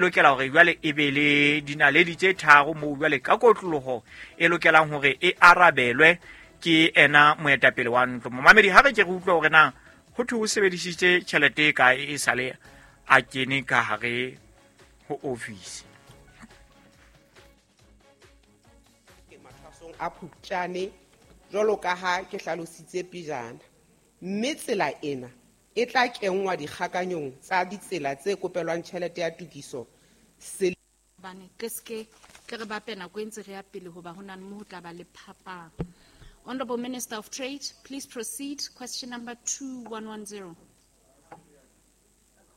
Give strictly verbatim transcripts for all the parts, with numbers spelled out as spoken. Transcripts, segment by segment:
Lokela hore jwale e be le dinaledi tse tharo moo jwale ka kotloloho e lokelang hore e arabelwe ke ena moetapele wa ntlo. Momamedi, ha re ke re utlwe hore na ho thwe o sebedisitse tjhelete e kae e sale a kene ka hare ho ofisi. Mathwasong a Phupjane jwalo ka ha ke hlalositse pejana, mme tsela ena e tla kenngwa dikgakanyong tsa ditsela tse kopelwang tjhelete ya tokiso se Bane ke ske ke re bape nako e ntse re ya pele hoba ho na le mo ho tla ba le phapang. Honorable Minister of Trade, please proceed. Question number two one one zero.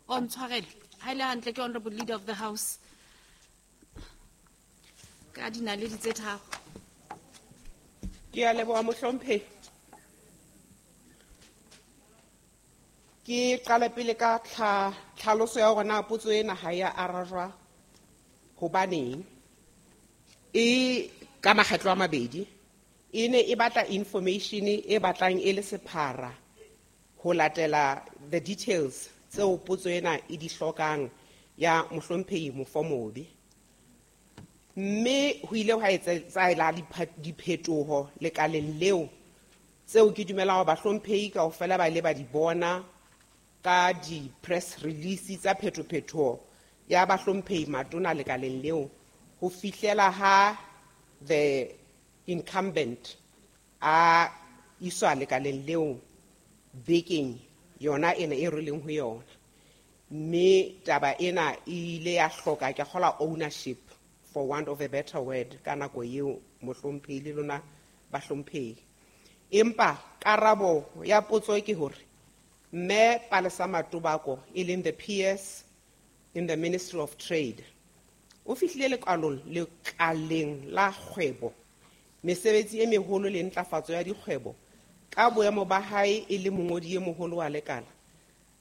Oh, ntshwarele. Ha ile hantle ke Honorable Leader of the House. Ka dinaledi tse tharo. Ke a leboha mohlomphehi. Ke qala pele ka tlha-, tlhaloso ya hore na potso ena ha ya arajwa hobaneng. E ka makgetlo a mabedi. E ne e batla information e batlang e le sephara ho latela the details tseo potso ena e di hlokang ya mohlomphehi Mofomobe. Mme ho ile hwa etsahala dipha-, diphetoho lekaleng leo tseo ke dumelang hore bahlomphehi kaofela ba ile ba di bona ka di-press release tsa phetophetoho ya bahlomphehi matona lekaleng leo ho fihlela ha the incumbent a iswa lekaleng leo bekeng yona ena e re leng ho yona. Mme taba ena e ile ya hloka ke kgola ownership, for want of a better word, ka nako eo mohlomphehi le lona bahlomphehi. Empa karabo ya potso ke hore Mme Palesa Matobako, e leng the P S in the Ministry of Trade, o fihlile lekalong, lekaleng la kgwebo, mesebetsi e meholo le ntlafatso ya dikgwebo ka boemo ba hae e le mongodi e moholo wa lekala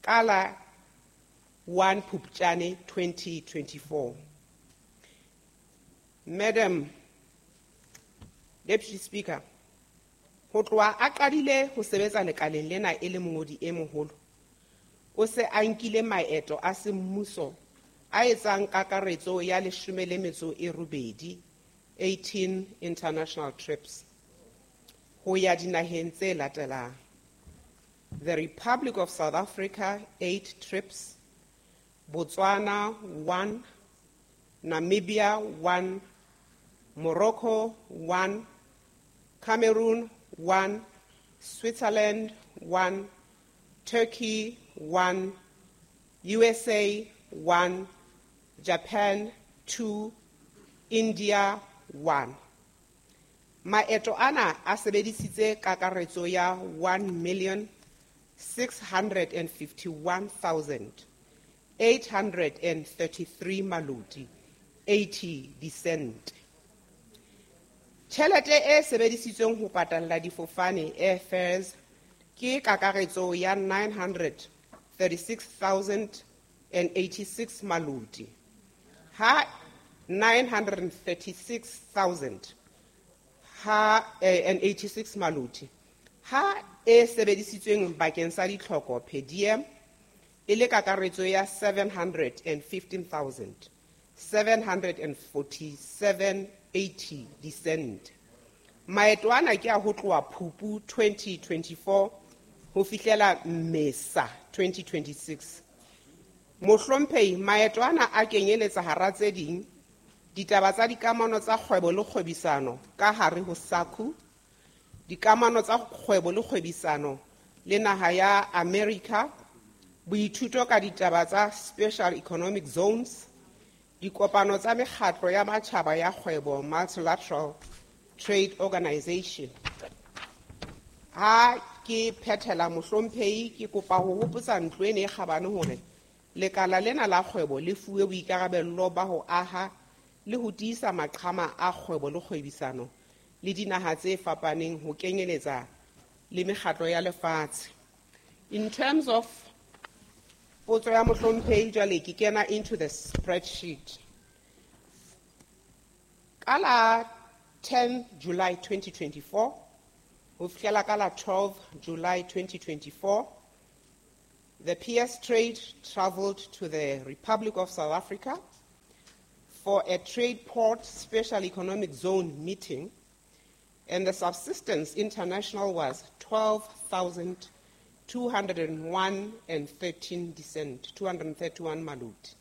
ka la one Phupjane twenty twenty-four. Madam Deputy Speaker, ho tloha a qadile ho sebetsa lekaleng lena e le mongodi e moholo, o se a nkile maeto a semmuso a etsang kakaretso ya leshome le metso e robedi, eighteen international trips, ho ya dinaheng tse latelang: the Republic of South Africa, eight trips, Botswana, one, Namibia, one, Morocco, one, Cameroon, one, Switzerland, one, Turkey, one, U S A, one, Japan, two, India, one. Maeto ana a sebedisitse kakaretso ya one million six hundred and fifty-one thousand eight hundred and thirty-three maloti eighty disente. Tjhelete e sebedisitsweng ho patalla difofane airfares ke kakaretso ya nine hundred thirty-six thousand and eighty-six maloti. Ha nine hundred thirty-six thousand ha, eh, and eighty-six maloti. Ha e sebedisitsweng bakeng sa ditlhoko per diem e le kakaretso ya seven hundred and fifteen thousand seven hundred and forty-seven eighty disente. Maeto ana ke a ho tloha Phupu twenty twenty-four ho fihlela Mmesa twenty twenty-six. Mohlomphehi, maeto ana a kenyeletsa hara tse ding ditaba tsa dikamano tsa kgwebo le kgwebisano ka hare ho SACU, dikamano tsa kgwebo le kgwebisano le naha ya America, boithuto ka ditaba tsa special economic zones, dikopano tsa mekgatlo ya matjhaba ya kgwebo, Multilateral Trade Organization. Ha ke phethela mohlomphehi, ke kopa ho hopotsa ntlo ena e kgabane hore lekala lena la kgwebo le fuwe boikarabello ba ho aha le ho tiisa maqhama a kgwebo le kgwebisano le dinaha tse fapaneng ho kenyeletsa le mekgatlo ya lefatshe. In terms of potso ya mohlomphehi, jwale ke kena into the spreadsheet. Ka la ten July twenty twenty-four ho fihlela ka la twelve July twenty twenty-four, the P S Trade traveled to the Republic of South Africa for a Trade Port Special Economic Zone meeting, and the Subsistence International was twelve thousand two hundred and one and thirteen cent, two hundred and thirty-one maluti.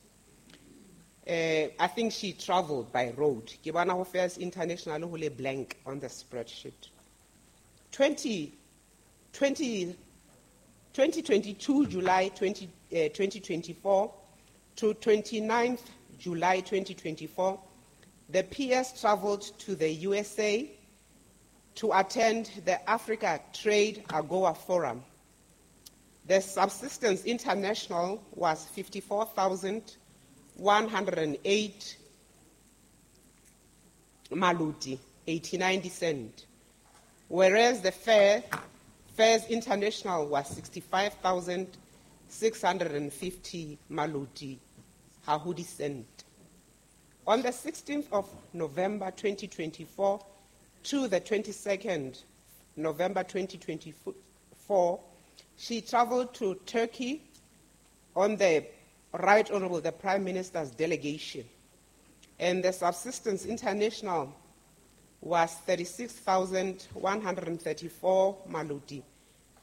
Uh, I think she traveled by road. Ke bona ho Fares International ho le blank on the spreadsheet. twenty, twenty, twenty twenty-two, July twenty, uh, twenty twenty-four to twenty-ninth July twenty twenty-four, the P S traveled to the U S A to attend the Africa Trade AGOA Forum. The Subsistence International was fifty-four thousand one hundred and eight maluti, eighty-nine cent, whereas the Fair, Fares International was sixty-five thousand six hundred and fifty maluti, hahudi cent. On the sixteenth of November twenty twenty-four to the twenty-second November twenty twenty-four, she traveled to Turkey on the Right Honorable the Prime Minister's delegation, and the Subsistence International was thirty-six thousand one hundred and thirty-four maluti,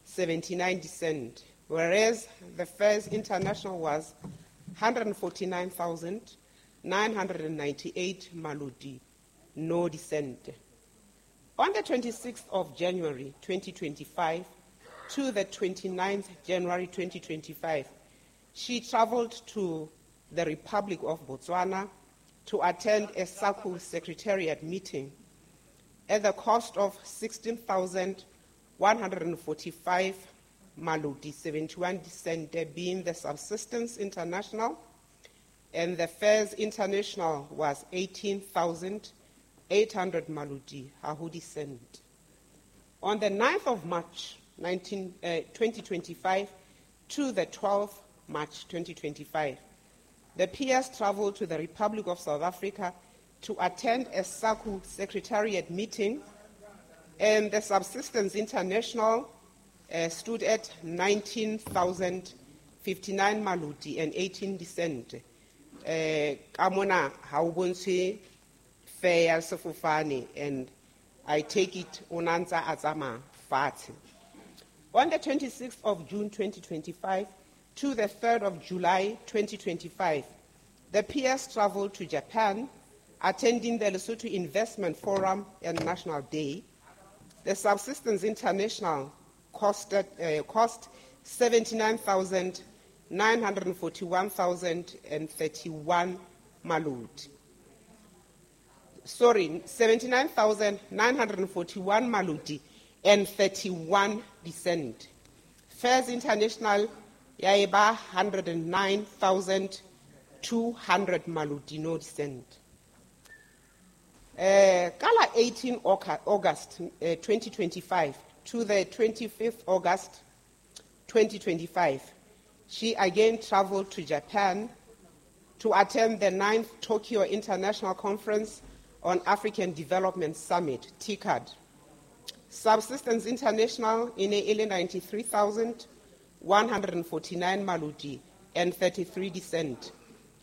seventy-nine cent, whereas the Fares International was hundred forty-nine thousand nine hundred ninety-eight maluti, no dissent. On the twenty-sixth of January twenty twenty-five to the twenty-ninth January twenty twenty-five, she traveled to the Republic of Botswana to attend a SACU Secretariat meeting at the cost of sixteen thousand one hundred forty-five maluti, seventy-one cent, being the Subsistence International, and the Fares International was eighteen thousand eight hundred maluti, hahudi cent. On the ninth of March nineteen, uh, twenty twenty-five to the twelfth March twenty twenty-five, the P S traveled to the Republic of South Africa to attend a SACU Secretariat meeting, and the Subsistence International, uh, stood at nineteen thousand fifty-nine maluti and eighteen cent. Uh, ka mona ha o bontshe fare ya sefofane, and I take it o na ntsa a tsamaya fatshe. On the twenty-sixth of June twenty twenty-five to the third of July twenty twenty-five, the P S traveled to Japan, attending the Lesotho Investment Forum and National Day. The Subsistence International costed, uh, cost seventy-nine thousand nine hundred forty-one thousand and thirty-one malut. Sorry, seventy-nine thousand nine hundred forty-one maluti and thirty-one cent. Fares International ya eba hundred nine thousand two hundred maluti no cent. Uh, Kala eighteen August, uh, twenty twenty-five to the twenty-fifth August twenty twenty-five, she again traveled to Japan to attend the ninth Tokyo International Conference on African Development Summit, T C A D. Subsistence International in a ninety-three thousand one hundred forty-nine maluti and thirty-three cent,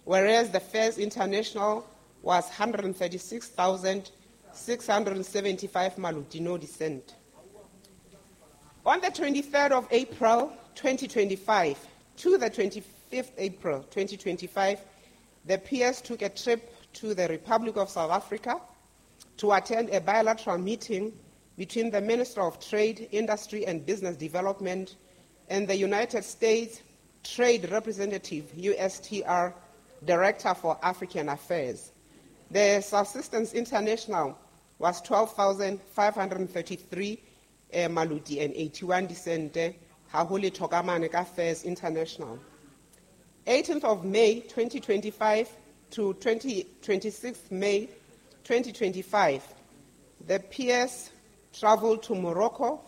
whereas the Fares International was hundred thirty-six thousand six hundred seventy-five maluti no dissent. On the twenty-third of April twenty twenty-five to the twenty-fifth April twenty twenty-five, the P S took a trip to the Republic of South Africa to attend a bilateral meeting between the Minister of Trade, Industry and Business Development and the United States Trade Representative, U S T R, Director for African Affairs. The Subsistence International was twelve thousand five hundred thirty-three, uh, maluti and eighty-one cent, ha ho le thokamane ka Fares International. eighteenth of May twenty twenty-five to twenty, twenty-sixth May twenty twenty-five, the P S traveled to Morocco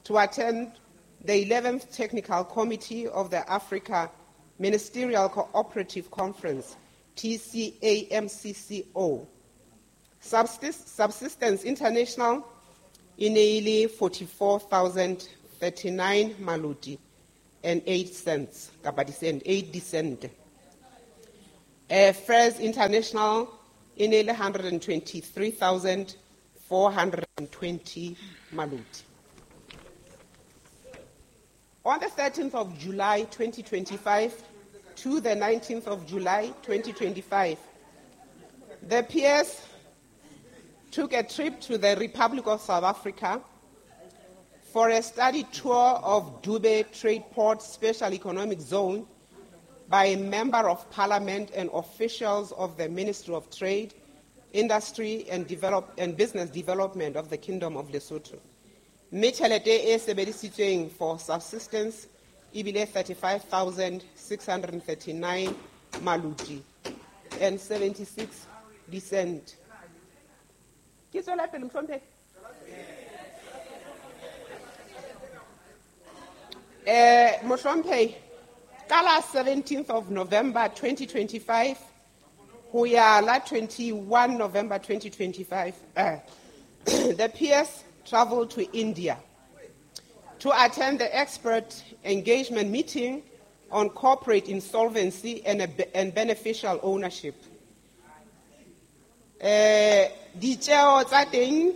to attend the eleventh Technical Committee of the Africa Ministerial Cooperative Conference, T C A M C C O. Subsist-, Subsistence International in e forty-four thousand thirty-nine maluti and eight cents, kapa di cent, eight cent. Uh, Fares International e ne le one hundred twenty-three thousand four hundred twenty maloti. On the thirteenth of July twenty twenty-five to the nineteenth of July twenty twenty-five, the P S took a trip to the Republic of South Africa for a study tour of Dube Trade Port Special Economic Zone by a member of parliament and officials of the Ministry of Trade, Industry and, Develop-, and Business Development of the Kingdom of Lesotho. Mme tjhelete e sebedisitsweng for subsistence e bile thirty-five thousand six hundred thirty-nine maloti and seventy-six cent. Ke tswela pele, mohlomphehi? Eh, mohlomphehi, ka la seventeenth of November twenty twenty-five ho ya la twenty-one November twenty twenty-five, eh, the P S traveled to India to attend the expert engagement meeting on corporate insolvency and, a, and beneficial ownership. Eh, ditjeo tsa teng,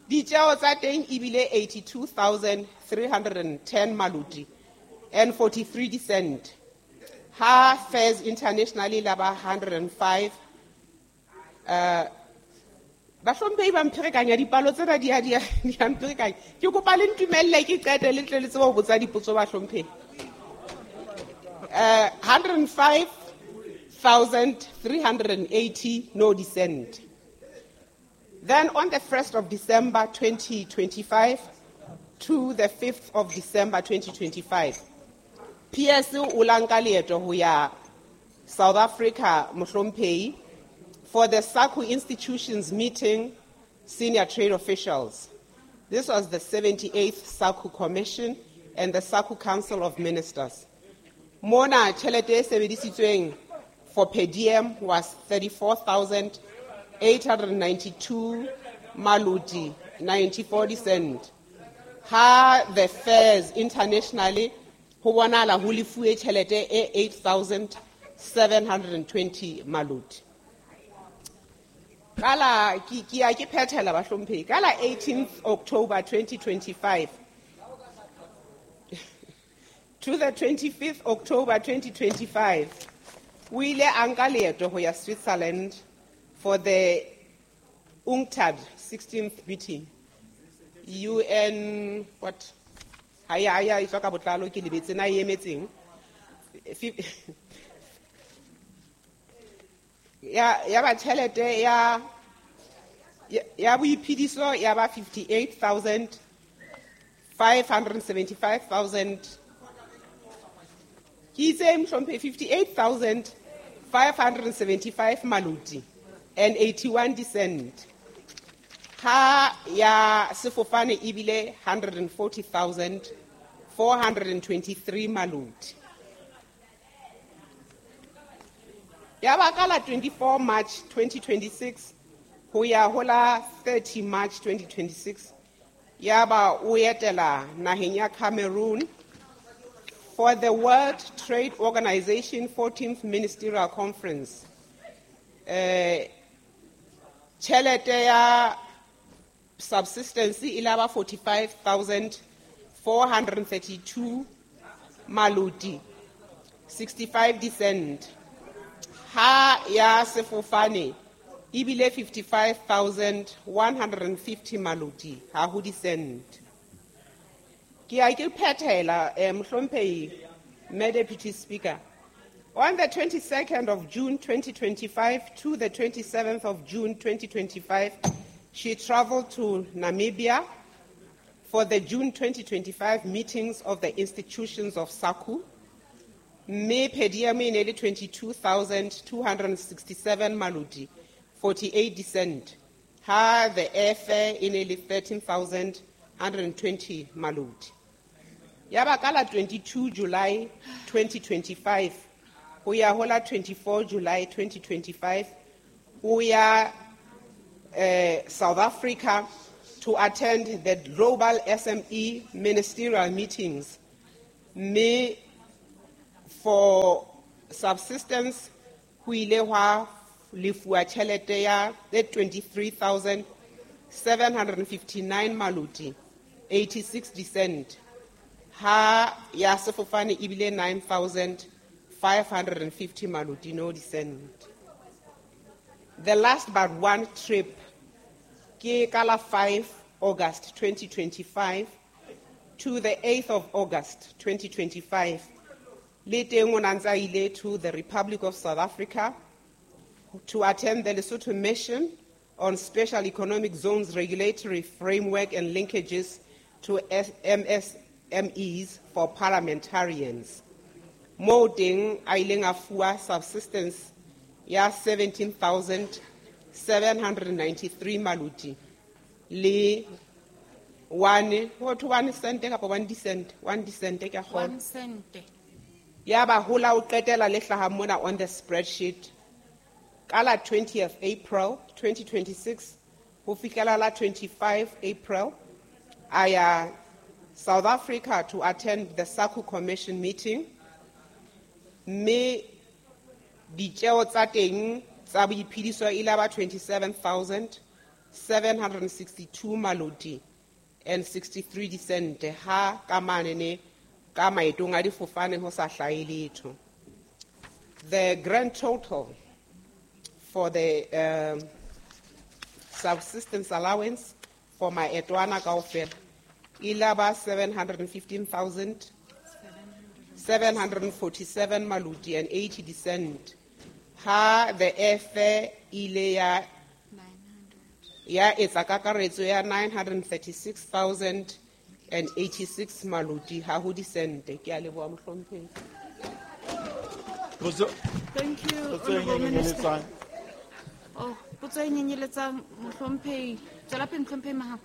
ditjeo tsa teng ebile eighty-two thousand three hundred ten maloti and forty-three cent. Ha fares internationally la ba hundred and five. Uh, bahlomphehi ba mpherekanya dipalo tsena di a, di a, di a mpherekanya. Ke kopa le ntumelle ke qete le tle le tsebe ho botsa dipotso bahlomphehi. Uh, hundred and five thousand three hundred and eighty no descent. Then on the first of December twenty twenty-five to the fifth of December twenty twenty-five, P S o la nka leeto ho ya South Africa mohlomphehi for the SACU institutions meeting senior trade officials. This was the seventy-eighth SACU Commission and the SACU Council of Ministers. Mona tjhelete e sebedisitsweng for per diem was thirty-four thousand eight hundred ninety-two maloti ninety-four cent. Ha the fares internationally ho bonahala ho lefuwe tjhelete e eight thousand seven hundred twenty maloti. Ka la, ke, ke ya ke phethela bahlomphehi. Ka la eighteenth October twenty twenty-five to the twenty-fifth October twenty twenty-five, o ile a nka leeto ho ya Switzerland for the UNCTAD sixteenth meeting. U N what? Ha ya, ya, e tswa ka botlalo ke lebetse na e emetseng. Fif-, ya, ya ba tjhelete ya, ya, ya boiphediso ya ba fifty-eight thousand five hundred seventy-five thousand. Ke itse mohlomphehi, fifty-eight thousand five hundred seventy-five maloti and eighty-one cent. Ha ya sefofane ebile hundred forty thousand four hundred twenty-three maloti. Ya ba ka la twenty-four March twenty twenty-six ho ya ho la thirty March twenty twenty-six, ya ba o etela naheng ya Cameroon for the World Trade Organization fourteenth Ministerial Conference. Eh, tjhelete ya subsistence e la ba forty-five thousand four hundred thirty-two maloti sixty-five cent. Ha ya sefofane ebile fifty-five thousand one hundred fifty maloti ha ho di-cent. Ke a ke phethela, eh, mohlomphehi, Mme Deputy Speaker. On the twenty-second of June twenty twenty-five to the twenty-seventh of June twenty twenty-five, she traveled to Namibia for the June twenty twenty-five meetings of the institutions of SACU. Mme per diem e ne le twenty-two thousand two hundred sixty-seven maloti forty-eight cent. Ha the airfare e ne le thirteen thousand hundred twenty maloti. Ya ba ka la twenty-two July twenty twenty-five ho ya ho la twenty-four July twenty twenty-five ho ya, eh, South Africa to attend the global S M E ministerial meetings. Mme for subsistence ho ile hwa lefuwa tjhelete ya tse twenty-three thousand seven hundred fifty-nine maloti eighty-six dicent. Ha ya sefofane ebile nine thousand five hundred fifty maloti no dicent. The last but one trip ke ka la five August twenty twenty-five to the eighth of August twenty twenty-five. Le teng o na ntse a ile to the Republic of South Africa to attend the Lesotho Mission on Special Economic Zones Regulatory Framework and Linkages to M S M Es for Parliamentarians. Mo teng a ileng a fuwa subsistence ya seventeen thousand seven hundred ninety-three maloti le one, ho thwe one cent kapa one cent, one cent ke a kgolwa. One cent. Ya ba hola o qetela le hlaha mona on the spreadsheet. Ka la twentieth April twenty twenty-six ho fihlela la twenty-five April a ya South Africa to attend the SACU Commission meeting. Mme ditjeo tsa teng tsa boiphediso e la ba twenty-seven thousand seven hundred sixty-two maloti and sixty-three dicent ha ka manene ka maetong a difofane ho sa hlahe letho. The grand total for the, um, subsistence allowance for maeto ana kaofela e la ba seven hundred fifteen thousand seven hundred forty-seven maloti and eighty dicent. Ha the airfare ile ya ya etsa kakaretso ya nine hundred thirty-six thousand and eighty-six maloti ha ho dicente. Ke a leboha mohlomphehi. Potso. Thank you, Potso e Honorable Minister. nyenyeletsang. Oh, potso e nyenyeletsang mohlomphehi. Tswela pele mohlomphehi Mahao.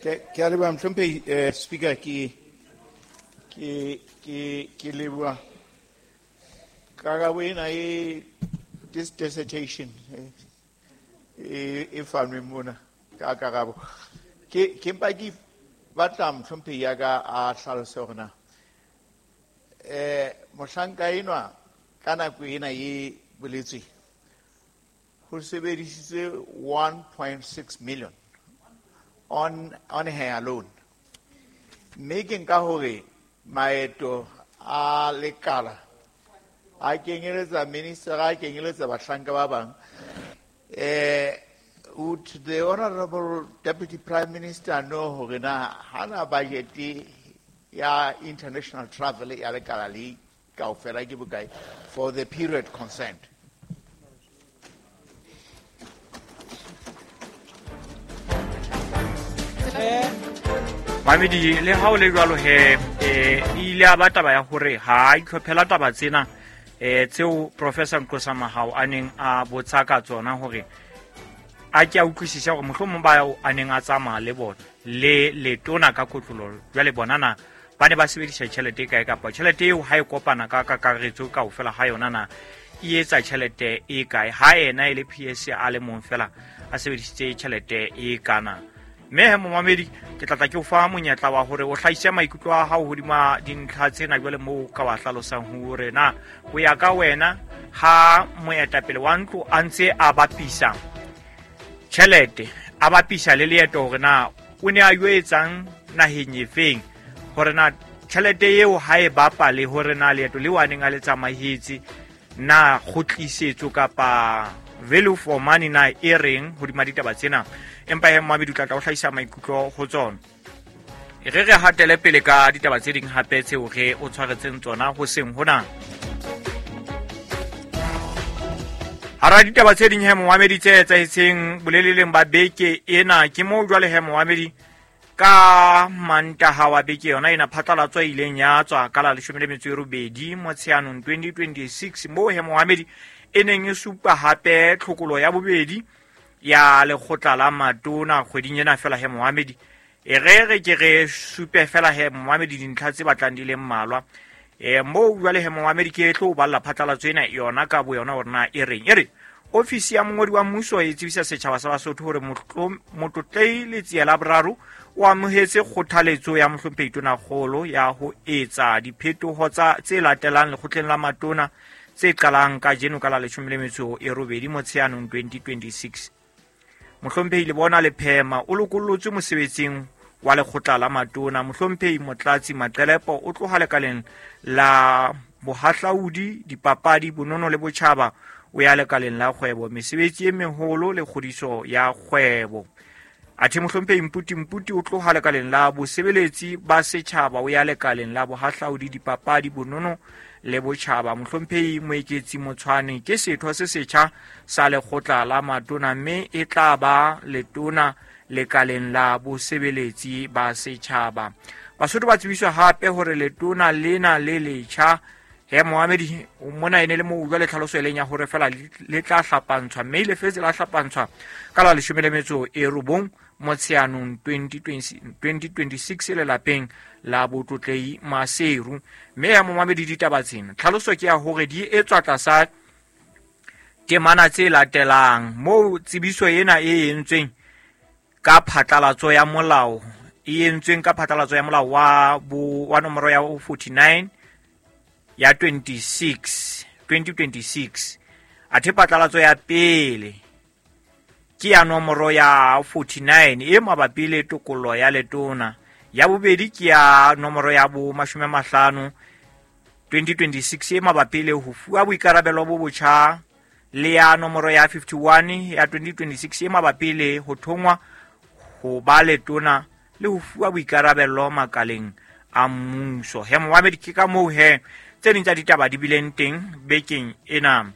Ke, ke a leboha mohlomphehi, eh, Speaker, ke, ke, ke, ke leboha karabo ena e this dissertation, eh, e, e fanwe mona ka karabo. Ke, ke mpa ke batla mohlomphehi ya ka a hlalose hore na, eh, mohlanka enwa ka nako ena e boletsweng ho sebedisitswe one point six million on, on her alone. Mme ke nka hore maeto a lekala a kenyeletsa minister, a kenyeletsa bahlanka ba bang. Eh, would the Honorable Deputy Prime Minister know hore na hana budget ya international travel ya lekala le kaofela ke bokae for the period concerned? Mamedi, le ha o le jwalo he, eh, e ile ya ba taba ya hore ha a itlhophela taba tsena, eh, tseo Professor Nqosa Mahao a neng a botsa ka tsona hore a ke a utlwisise hore mohlomong ba ao a neng a tsamaya le bona le letona ka kotloloho jwale bona na ba ne ba sebedisa tjhelete e kae kapa tjhelete eo ha e kopana ka kakaretso kaofela ha yona na e etsa tjhelete e kae ha ena e le P S a le mong fela a sebedisitse tjhelete e kana. Mme he momamedi, ke tla tla ke o fa monyetla wa hore o hlahise maikutlo a hao hodima dintlha tsena jwale moo ka wa hlalosang hore na ho ya ka wena ha moetapele wa ntlo a ntse a bapisa tjhelete, a bapisa le leeto hore na o ne a yo etsang naheng efeng, hore na tjhelete eo ha e bapa le hore na leeto leo a neng a le tsamaetse na kgutlisetso kapa value for money na e reng hodima ditaba tsena. Empa he momamedi o tla tla o hlahisa maikutlo ho tsona. E re re hatele pele ka ditaba tse ding hape tseo re o tshwaretseng tsona hoseng hona. Hara ditaba tse ding he momamedi tse etsahetseng boleleleng ba beke ena ke moo jwale he momamedi ka Mantaha wa beke yona ena phatlalatso e ileng ya tswa ka la leshome le metso e robedi Motsheanong twenty twenty-six moo he momamedi e neng e supa hape tlhokolo ya bobedi ya lekgotla la matona kgweding ena fela he momamedi. E re re ke re supe fela he momamedi dintlha tse batlang di le mmalwa. E moo jwale he momamedi ke tlo balla phatlalatso ena yona ka bo yona hore na e reng. E re Ofisi ya mongodi wa mmuso e tsebisa setjhaba sa Basotho hore Motlotlei Letsie la Boraro o amohetse kgothaletso ya Mohlomphehi Tonakgolo ya ho etsa diphetoho tsa tse latelang lekgotleng la matona tse qalang kajeno ka la leshome le metso e robedi Motsheanong twenty twenty-six. Mohlomphehi Lebona Lephema o lokollotswe mosebetsing wa lekgotla la matona. Mohlomphehi Motlatsi Maqelepo o tloha lekaleng la bohahlaudi, dipapadi, bonono le botjhaba o ya lekaleng la kgwebo, mesebetsi e meholo le kgodiso ya kgwebo. Athe Mohlomphehi Mputi Mputi o tloha lekaleng la bosebeletsi ba setjhaba o ya lekaleng la bohahlaudi, dipapadi, bonono le botjhaba. Mohlomphehi Moeketsi Motshwane ke setho se setjha sa lekgotla la matona mme e tla ba letona lekaleng la bosebeletsi ba setjhaba. Basotho ba tsebiswa hape hore letona lena le letjha he Mohamedi mona ene le mo utlwa le tlhaloso e leng ya hore fela le tla hlapantshwa mme le fetse la hlapantshwa ka la leshome le metso e robong Motsheanong twenty twenty-six lelapeng la Botlotlei Maseru. Mme ya Mohamedi ditaba tsena tlhaloso ke ya hore di etswa tlasa temana tse latelang moo tsebiso ena e entsweng ka phatlalatso ya molao e entsweng ka phatlalatso ya molao wa bo wa nomoro ya forty-nine ya twenty-six twenty twenty-six. Athe phatlalatso ya pele ke ya nomoro ya forty-nine e mabapi le tokollo ya letona. Ya bobedi ke ya nomoro ya bo mashome a mahlano twenty twenty-six e mabapi le ho fuwa boikarabelo bo botjha, le ya nomoro ya fifty-one ya twenty twenty-six e mabapi le ho thongwa ho ba letona le ho fuwa boikarabelo makaleng a mmuso. He Mohamedi ke ka moo he tse ding tsa ditaba di bileng teng bekeng ena.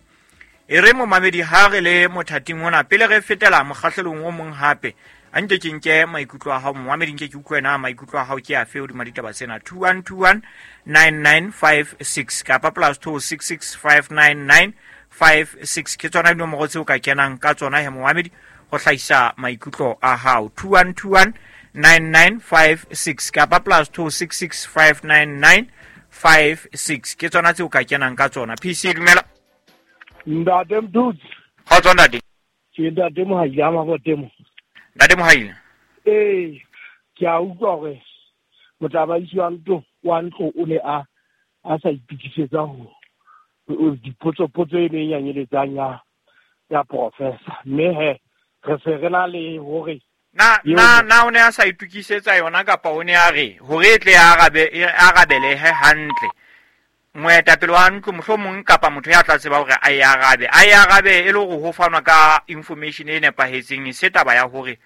E re momamedi ha re le mothating ona pele re fetela mokgahlelong o mong hape a nke ke nke maikutlo a hao momamedi, nke ke utlwe na maikutlo a hao ke afe hodima ditaba tsena. Two one two one nine nine five six kapa plus two six six five nine nine five six ke tsona dinomoro tseo ka kenang ka tsona he momamedi ho hlahisa maikutlo a hao. Two one two one nine nine five six kapa plus two six six five nine nine five six ke tsona tseo ka kenang ka tsona. P C dumela. Ntate Mdutsi. Kgotso ntate. Ke ntate Mohaila Mabotemo. Ntate Mohaila. Eh, ke a utlwa hore motsamaisi wa ntlo wa ntlo o ne a a sa itokisetsa ho dipotso potso e neng ya nyeletsang ya ya professor. Mme he re se re na le hore na na na o ne a sa itokisetsa yona kapa o ne a re hore e tle arabe e arabele he hantle moetapele wa ntlo mohlomong kapa motho ya tla tseba hore a e arabe a e arabe e le hore ho fanwa ka information e nepahetseng, se taba ya hore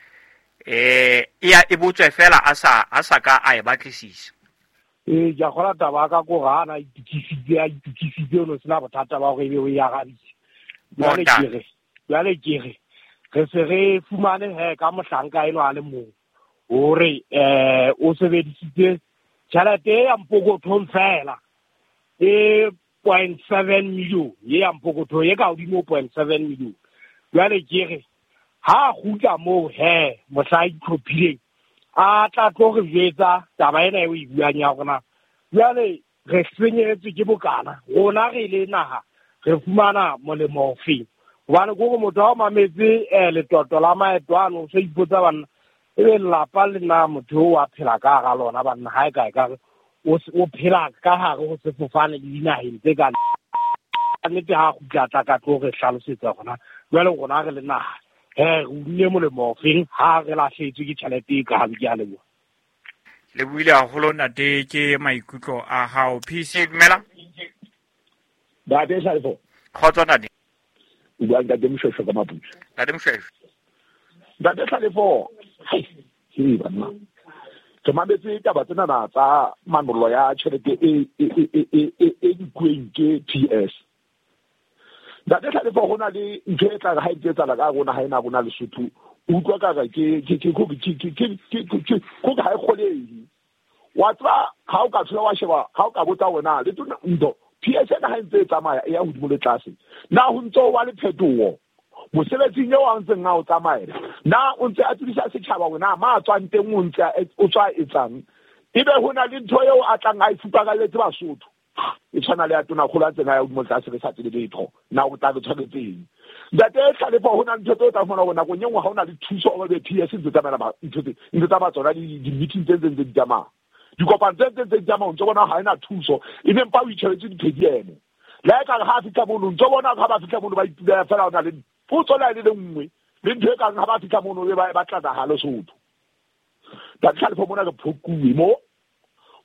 eh e e botswe fela a sa a sa ka a e batlisisa. Eh ke a kgola taba ka ko ga ana itokisitse a itokisitse o no sena bothata ba hore ebe o e arabile. Jwale ke re jwale ke re re se re fumane he ka mohlanka eno a le mong hore eh o sebedisitse tjhelete ya mpokothong fela e point seven million ye ya mpokothong e ka hodimo point seven million. Jwale ke re ha kgutla moo he mohla itlhophileng a tla tlo re jwetsa taba ena eo e buang ya rona. Jwale re senyehetswe ke bokana rona re le naha re fumana molemo ofeng? Hobane kore motho ha o mametse letoto la maeto ano o so ipotsa banna ebe lelapa le na motho o a phela ka hara lona banna ha e kae ka o phela ka hare ho sefofane le dinaheng tse ka nnete ha kgutla tla ka tlo re hlalosetsa rona. Jwale rona re le naha he re unne molemo ofeng ha re lahlehetswe ke tjhelete e kalo? Ke a leboha. Le buile haholo ntate ke maikutlo a hao. P C dumela. Ntate Hlalefo. Kgotso ntate. O bua ntate Moshweshwe ka Maputswe. Ntate Moshweshwe. Ntate Hlalefo, hai, ke banna. Ke mametse taba tsena tsa manollo ya tjhelete e e e e e e nkuweng ke P S. Ntate Hlalefo, ho na le ntho e tla re ha e etsahala ka rona ha ena rona Lesotho, o utlwa ka re ke ke ke ke ke ke ke ke ha e kgolehe. Wa tseba ha o ka thola wa sheba, ha o ka botsa wena le tona ntho P S ena ha ntse e tsamaya e ya hodimo le tlase. Na ho ntso wa le phetoho mosebetsing eo a ntseng a o tsamaela, na o ntse a tsebisa setjhaba wena ma tswang teng o ntse o tswa etsang, ebe ho na le ntho eo a tlang a e fuparalletse Basotho. E tshwana le ya tonakgolo a tsena ya hodimo tlase re sa tsebe letho. Na o tla re tshwanetseng. Ntate Tlhalefo ho na le ntho tse o tla fumana hore nakong e nngwe ha o na le thuso o be P S ntse tsamaya ba ntho tse ntse tsamaya tsona di-meeting tse ntse di tsamaya. Dikopano tse ntse di tsamaya o ntso bona ha ena thuso e ne mpa o itjhebetse diphediemo. Le ha ekare ha a fihla mono ntso bona ha ba fihla mono ba itulela fela o na le potso le ha e le nngwe le ntho e kang ha ba fihla mono e ba batla naha Lesotho. Ntate Tlhalefo mona re phokuwe mo.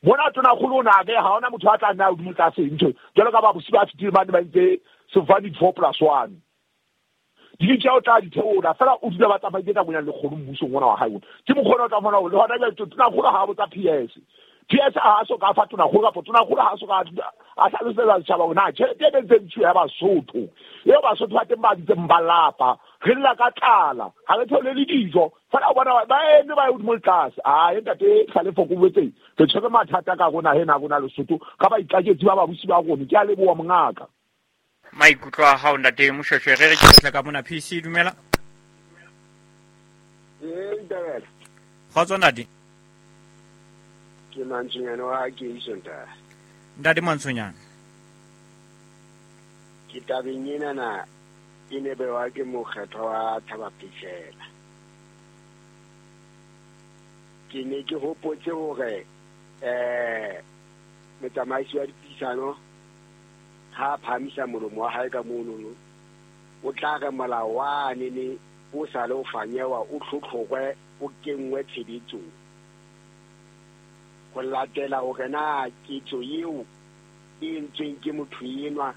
Mona tonakgolo o na ke ha hona motho a tla nna hodimo tlase ntho jwalo ka ba bosi ba fetile bane ba itse sefane four plus one. Di tjao tla di theola fela o dula ba tsamaile ka bonyane lekgolo mmusong ona wa hae ona. Ke mokgwa o tla fumana hore le hona jwale tonakgolo ha a botsa P S. P S ha a so ka fa tonakgolo kapa tonakgolo ha a so ka a hlalosetsa setjhaba hore na tjhelete e ntseng ntshuwa ya Basotho eo Basotho ba teng ba ntseng ba lapa re lla ka tlala ha re thole le dijo fela o bona ba eme ba ye hodimo le tlase. Ae ntate Tlhalefo ko boetse re tshwere mathata ka rona hena rona Lesotho ka baikaketsi ba babusi ba rona. Ke a leboha mongaka. Maikutlo a hao ntate Moshweshwe re re ke tla ka mona P C dumela. Eh ntabela. Kgotso ntate. Ke Mantshonyane wa Keiso ntate. Ntate Mantshonyane. Ke tabeng ena na e ne bewa ke mokgetho wa Thabapishela. Ke ne ke hopotse hore eh motsamaisi wa dipuisano ha phamisa molomo wa hae ka monono o tla re molao wane ne o sa le o fanyewa o tlhotlhokwe o kenngwe tshebetsong ho latela hore na ketso eo e entsweng ke motho enwa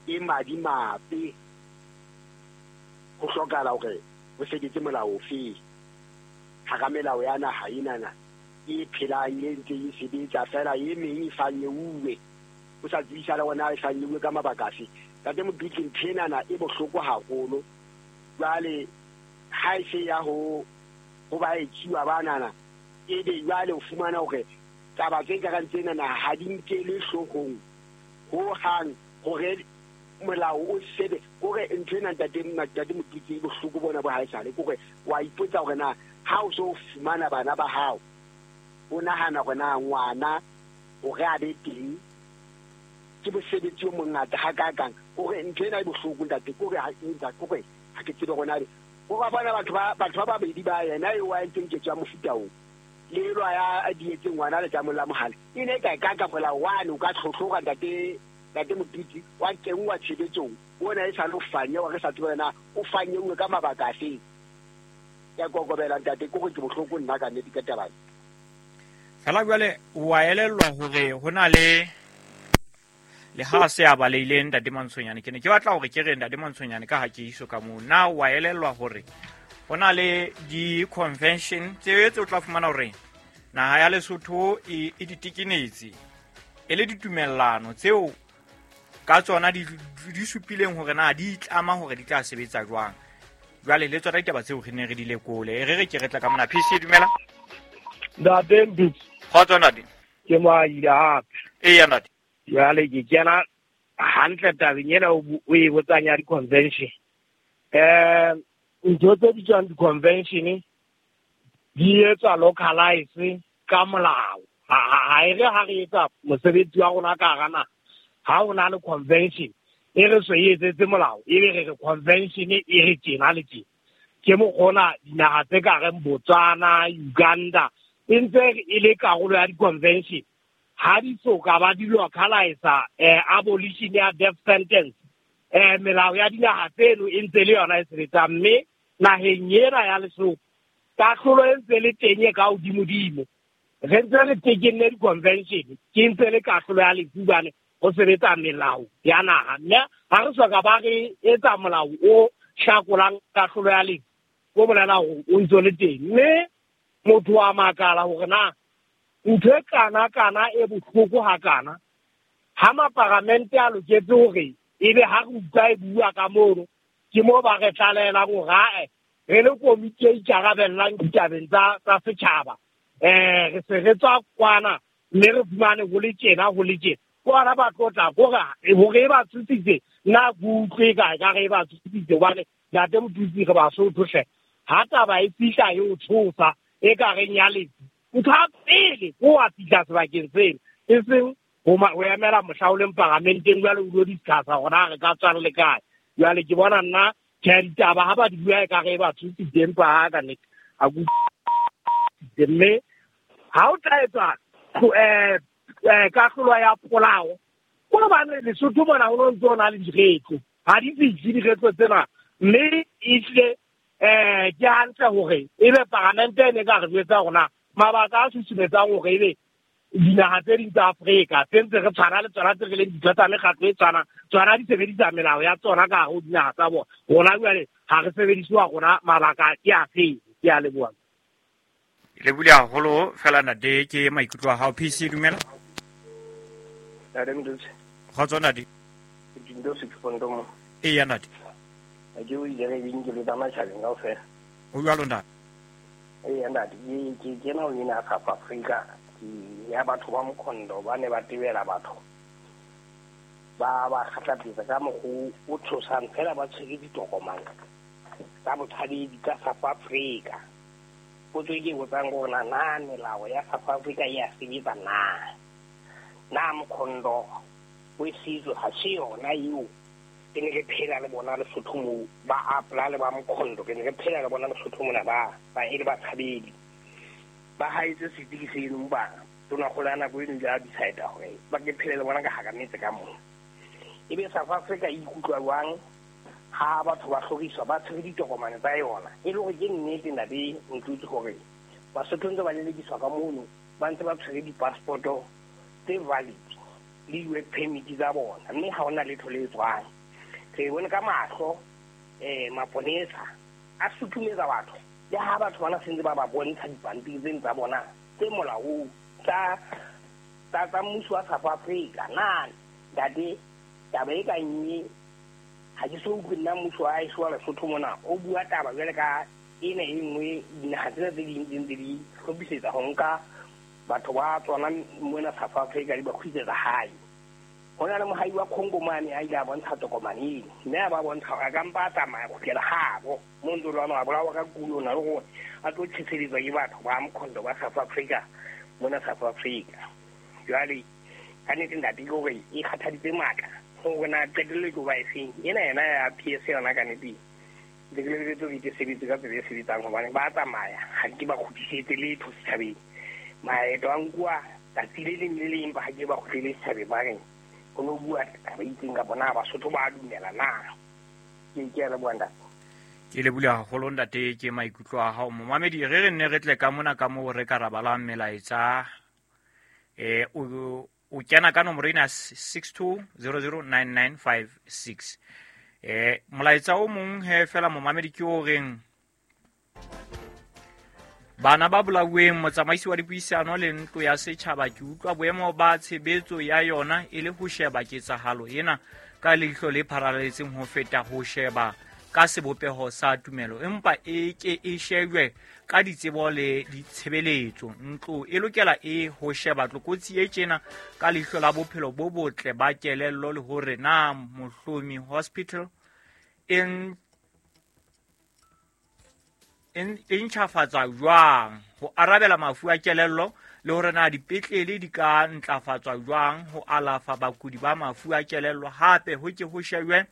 e madimabe ho hlokahala hore ho sebetse molao ofe hara melao ya naha enana e phelang e ntse e sebetsa fela e meng e fanyeuwe o sa tsebisa le ona e fanyeuwe ka mabaka afe. Ntate Modutli ntho enana e bohloko haholo jwale ha e se ya ho ho ba etsuwa banana e be jwale o fumana hore taba tse karang tsenana ha di nkelwe hloohong ho hang hore molao o sebe kore ntho ena ntate ntate Modutli e bohloko bona bo haesale kore wa ipotsa hore na ha o so fumana bana ba hao o nahana hore na ngwana hore a be teng ke mosebetsi o mongata hakakang kore ntho ena e bohloko ntate kore ha ntate kore ha ke tsebe hore na o ba bona batho ba batho ba babedi ba yena eo wa entseng ketso ya mofuta oo le elwa ya dietseng ngwana le tsa mola mohale e ne ka ka ka molao wane o ka tlhotlhoga ntate ntate Modutli wa kenngwa tshebetsong ona e sa le fanye wa re sa tsebe na o fanyeuwe ka mabaka afe. Ya kokobela ntate kore ke bohloko nna ka nnete ka taba. Fela jwale wa elellwa hore ho na le le ha se a baleile ntate Mantshonyane ke ne ke batla hore ke re ntate Mantshonyane ka ha ke iso ka moo na wa elellwa hore ho na le di-convention tse tse o tla fumana hore naha ya Lesotho e e ditekenetse e le ditumellano tseo ka tsona di di supileng hore na di itlama hore di tla sebetsa jwang. Jwale le tsona ditaba tseo re ne re di lekole e re re ke re tla ka mona P C dumela. Ntate Mpitsi. Kgotso ntate. Ke moaile hape. Eya ntate. Jwale ke kena hantle tabeng ena o e botsang ya di-convention. Eh ntho tse bitswang di-convention di etswa localize ka molao. Ha e re ha re etsa mosebetsi wa rona ka hara naha ha o na le convention e re so e etsetse molao e be re re convention e re tjena le tjena. Ke mokgona dinaha tse ka reng Botswana, Uganda e ntse e le karolo ya di-convention ha di so ka ba di localize eh abolition ya death sentence eh melao ya dinaha tseno e ntse le yona e sebetsang mme naheng ena ya Lesotho kahlolo e ntse le teng e ka hodimodimo re ntse re tekenne di-convention ke ntse le kahlolo ya lefu bane ho sebetsa melao ya naha mme ha re soka ba re etsa molao o hlakolang kahlolo ya lefu o bolela hore o ntse le teng mme motho wa makala hore na ntho e kana kana e bohloko hakana ha maparamente a loketse hore ebe ha re utlwa e bua ka mono ke mo ba re tlalehelang hore ae re le komiti e ikarabellang ditabeng tsa tsa setjhaba eh re se re tswa kwana mme re fumane ho le tjena ho le tjena kwana ba tlotla hore hore e ba tshositse nna ke utlwe ka ka re e ba tshositse hobane ntate Motutsi re Basotho hle ha taba e fihla e o tshosa e ka reng ya lefu ntho ya pele ko wa fihla sebakeng seno e seng ho emela mohla o leng paramenteng jwale o lo discussa hore na re ka tswang le kae. Jwale ke bona nna tjhe ditaba ha ba di bua ekare e ba tshositse empa ha ka nnete ha ke mme ha o tla etswa eh kahlolo ya polao ko hobane Lesotho mona ho no ntso na le diretlo ha di fihle diretlo tsena mme ehlile eh ke hantle hore ebe paramente e ne ka re jwetsa rona mabaka a susumetsang hore ebe dinaha tse ding tsa Afrika tse ntse re tshwana le tsona tse re leng ditho tsa mekgatlo e tshwanang tsona di sebedisa melao ya tsona ka hare ho dinaha tsa bona. Rona jwale ha re sebedisiwa rona mabaka ke afe? Ke a leboha. Le bule haholo fela ntate ke maikutlo a hao. P C dumela. Ntate Mdutsi. Kgotso ntate. Ke dindo se ke mo. Eya ntate. A ke o ile re bing ke le tsa matjhabeng kaofela. O jwalo ntate. Eya ntate ke ke kena o ena South Africa ke ya batho ba Mkhondo ba ne ba tebela batho. Ba ba kgatlapetsa ka mokgwa o tshosang fela ba tshwere ditokomane tsa botshabedi tsa South Africa. Potso e ke botsang gore na na melao ya South Africa e a sebetsa na? Na Mkhondo o setso ha se yona eo ke ne ke phela le bona Lesotho moo ba apla le ba Mkhondo ke ne ke phela le bona Lesotho mona ba ba e le batshabedi ba haetse setiki seno ba tona kgolo ya nako eno ile a decide hore ba ke phele le bona ka hara metse ka moo. Ebe South Africa e ikutlwa jwang ha batho ba hloriswa ba tshwere ditokomane tsa yona e le hore ke nnete ntate Ntutsi hore Basotho ntse ba lelekiswa ka mono ba ntse ba tshwere di-passport-o tse valid le di-work permit tsa bona mme ha hona letho le tswang. Re bone ka mahlo eh maponesa a suthumetsa batho le ha batho bana sentse ba ba bontsha dipampiri tseno tsa bona tse molaong tsa tsa tsa mmuso wa South Africa. Na ntate taba e kang e ha ke so utlwe nna mmuso wa haeso wa Lesotho mona o bua taba jwale ka ena e nngwe dinaha tsena tse ding tse ntse di hlophisetsa ho nka batho ba tsona mona South Africa di ba kgutlisetsa hae. Ho na le mohai wa Congo mane a ile a bontsha tokomane eno mme a ba bontsha hore a ka mpa a tsamaya kgutlela habo mo ntse lwana a bolawa ka kulo na le hore a tlo tjheseletswa ke batho ba Mkhondo ba South Africa mona South Africa. Jwale ka nnete ntate ke hore e kgathaditse matla hore na qetello e tlo ba efeng ena yena ya P S yona ka nnete ke lebeletse hore ke sebetse ka tsela e sebetsang hobane ba tsamaya ha ke ba kgutlisetse letho setjhabeng. Maeto a nkuwa tsatsi le leng le leng empa ha ke ba kgutlele setjhabeng ba reng ho no bua taba e itseng kapa na Basotho ba dumela na. Ke ke a leboha ntate. Ke lebohile haholo ntate ke maikutlo a hao. Momamedi re re nne re tle ka mona ka moo re ka rabalang melaetsa eh o o kena ka nomoro ena six two zero zero nine nine five six. Eh molaetsa o mong he fela momamedi ke o reng bana ba bolauweng motsamaisi wa dipuisano le ntlo ya setjhaba ke utlwa boemo ba tshebetso ya yona e le ho sheba ketsahalo ena ka leihlo le pharaletseng ho feta ho sheba ka sebopeho sa tumelo empa e ke e shejwe ka ditsebo le ditshebeletso. Ntlo e lokela e ho sheba tlokotsi e tjena ka leihlo la bophelo bo botle ba kelello le hore na Mohlomi Hospital e e ntjhafatswa jwang ho arabela mafu a kelello le hore na dipetlele di ka ntlafatswa jwang ho alafa bakudi ba mafu a kelello. Hape ho ke ho shejwe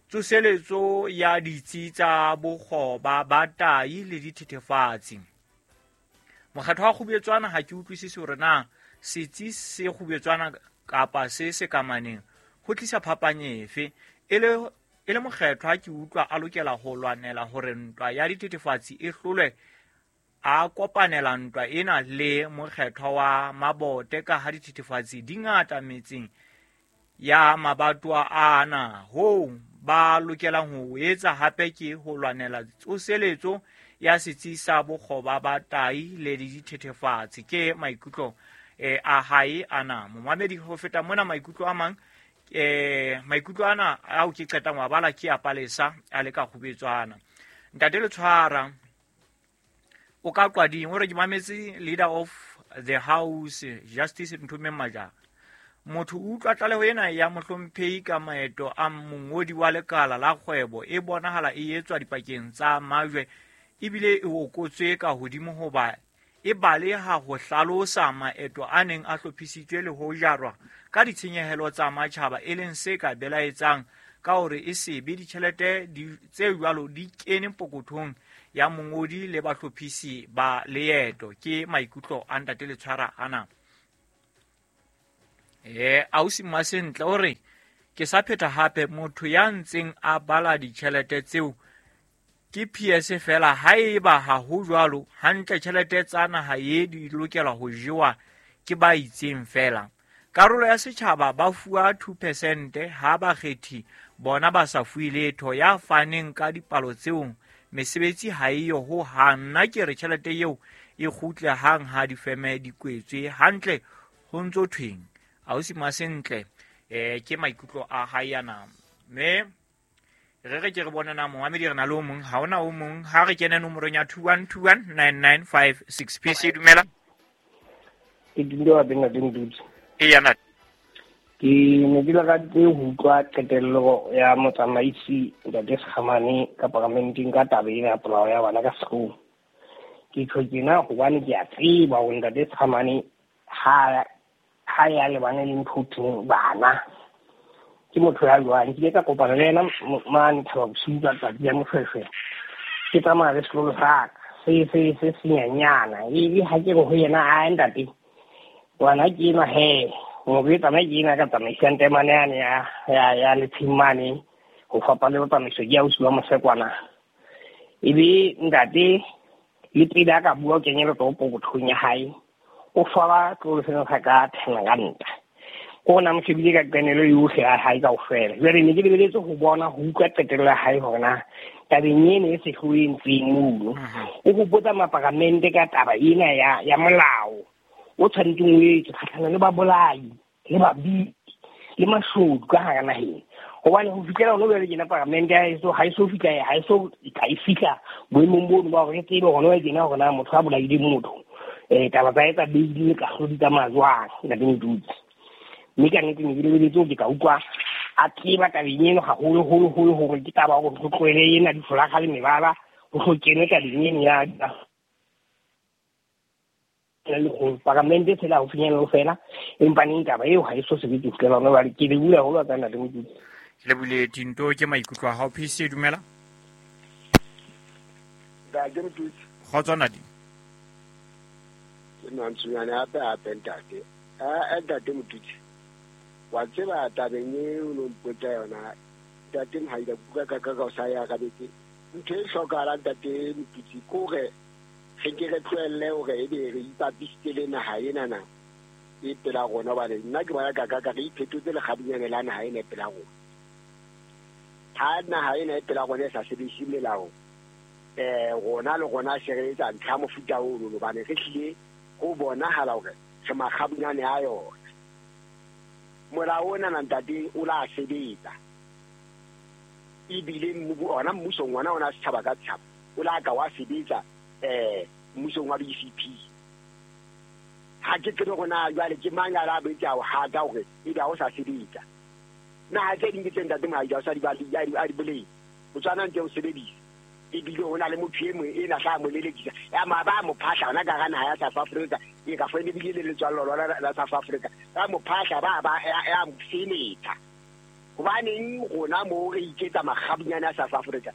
tsoseletso ya ditsi tsa bokgoba ba tai le dithethefatsi. Mokgatlo wa Kgubetswana ha ke utlwisise hore na setsi se Kgubetswana kapa se se kamaneng ho tlisa phapang efe. E le e le mokgetho ha ke utlwa a lokela ho lwanela hore ntwa ya dithethefatsi e hlolwe a kopanela ntwa ena le mokgetho wa Mabote ka ha dithethefatsi di ngata metseng ya mabatowa ana. Hoo ba lokelang ho etsa hape ke ho lwanela tsoseletso ya setsi sa bokgoba ba tai le dithethefatsi. Ke maikutlo eh, a hae ana momamedi. Ho feta mona maikutlo a mang eh maikutlo ana ao ke qetang wa bala ke a Palesa a le ka Kgubetswana. Ntate Letshwara o ka Qwading o re ke mametse leader of the house Justice Nthomeng Majara. Motho o utlwa tlaleho ena ya mohlomphehi ka maeto a mongodi wa lekala la kgwebo e bonahala e etswa dipakeng tsa majwe ebile e okotswe ka hodimo hoba e baleha ho hlalosa maeto a neng a hlophisitswe le ho jarwa ka ditshenyehelo tsa matjhaba, e leng se ka belaetsang ka hore e se be ditjhelete tse jwalo di kene pokothong ya mongodi le bahlophisi ba leeto. Ke maikutlo a ntate Letshwara ana. Eh, ausi Masentle o re ke sa pheta hape, motho ya ntseng a bala ditjhelete tseo ke P S fela, haeba ha ho jwalo hantle tjhelete tsa naha ye di lokela ho jewa ke ba itseng fela. Karolo ya setjhaba ba fuwa two percent ha bakgethi bona ba sa fuwe letho. Ya faneng ka dipalo tseo mesebetsi ha eyo ho hang. Nna ke re tjhelete eo e kgutle hang ha difeme di kwetswe hantle ho ntso thweng. Ausi Masentle, eh ke maikutlo a hae ana. Mme re re ke re bona na momamedi re na le o mong, ha ona o mong, ha re kene nomorong ya two one two one nine nine five six. P C dumela. Ke dumela bena le Ntutsi. E yana. Ke ne ke lakaditse ho utlwa qetello ya motsamaisi Ntate Sekgamane ka paramenteng ka taba ena ya polao ya bana ka sekolo. Ke tjho tjena hobane ke a tseba hore Ntate Sekgamane ha ha ya lebane le ntho thweng bana. Ke motho ya jwang, ke ile ka kopana le yena mane Thaba Bosiu ka tsatsi ya Moshweshwe. Ke tsamaya le sekolo sa ka se se se senyanyana, ebe ha ke re ho yena a ntate ngwana ke enwa he, motho e tsamaya ke ena ka tsamaisang temane yane ya ya ya Letsheng mane ho fapana le tsamaiso ke ausi wa Mosekwana. Ebe ntate le pele a ka bua o kenye letsoho pokothong ya hae, o fala tlolo sena sa ka ten ranta. Ko na mo shebile ka qenelo yohle ya hae kaofela. Jwale ne ke lebeletse ho bona ho utlwa qetello ya hae hore na tabeng ena e sehloho e entsweng mono. O hopotsa maparamente ka taba ena ya ya molao o tshwanetseng o etswe kgahlano le babolai le babiki le mashodu ka hara naheng. Hobane ho fihlela hona jwale tjena paramente ha eso ha eso fihla ha eso ha e fihla boemong bono ba hore re tsebe hona jwale tjena hore na motho a bolaile motho eh taba tsa etsa beile ka hlodi tsa majwang ntate Ntutsi. Mme ka nnete ne ke lebeletse hore ke ka utlwa a tseba tabeng eno haholoholo holo hore ke taba hore ho tlohele ena difolakga le mebala ho hlo kenwe tabeng eno ya le go paramente tsela ho finyella ho fela, empa neng taba eo ha e so sebetse ho fihlela hona jwale. Ke le bula haholo ka ntate Ntutsi. Ke lebile Tinto, ke maikutlo a hao. P C dumela. Ntate Motutsi. Kgotso ntate. Ke nantsunyane hape hape ntate. A ntate Motutsi. Wa tseba tabeng e o no mpotsa yona ntate Mohaila kuka ka ka ka o sa ya arabetse. Ntho e hlokahalang ntate Motutsi ke hore re ke re tlohelle hore ebe re ipapisitse le naha enana e pela rona, hobane nna ke bona ka ka ka re iphetotse lekgabunyane la naha ena e pela rona. Ha naha ena e pela rona e sa sebedise melao, eh rona le rona se re etsa ntlha mofuta ono, hobane re hlile ho bonahala hore re makgabunyane a yona. Molao ona na ntate o la sebetsa, ebile ona mmusong ona ona setjhaba ka setjhaba o la ka wa sebetsa eh mmusong wa B C P. Ha ke tsebe hore na jwale ke mang a la betsa ho hata hore ebe ha o sa sebetsa. Naha tse ding ke tse ntate Mohaija o sa di ba a di boleng, Botswana ntse o sebedisa, ebile ho na le motho e mong ena tla mo lelekisa ya ma ba mo phahla hona ka hara naha ya South Africa, e ka fane ebile le letswallo lona la South Africa ba mo phahla ba ba ya mo seletsa. Hobaneng rona mo re iketsa makgabunyane a South Africa?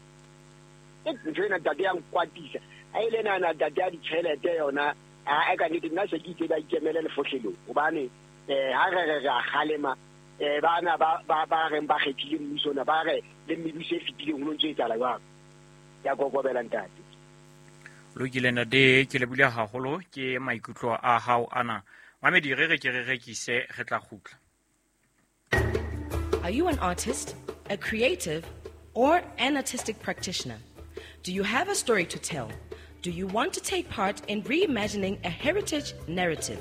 E ntho ena ntate ya nkwatisa. Ha e le nana ntate ya ditjhelete yona a ka nnete nna se ke itse ba ikemele lefohlelong, hobane eh ha re re re a kgalema eh bana ba ba ba reng ba kgethile mmuso ona ba re le mebuso e fetileng ho no ntso etsahala jwang. Ya kokobela ntate. Lokile ntate, ke lebile haholo ke maikutlo a hao ana. Mamedi re re ke re rekise re tla kgutla. Are you an artist, a creative, or an artistic practitioner? Do you have a story to tell? Do you want to take part in reimagining a heritage narrative?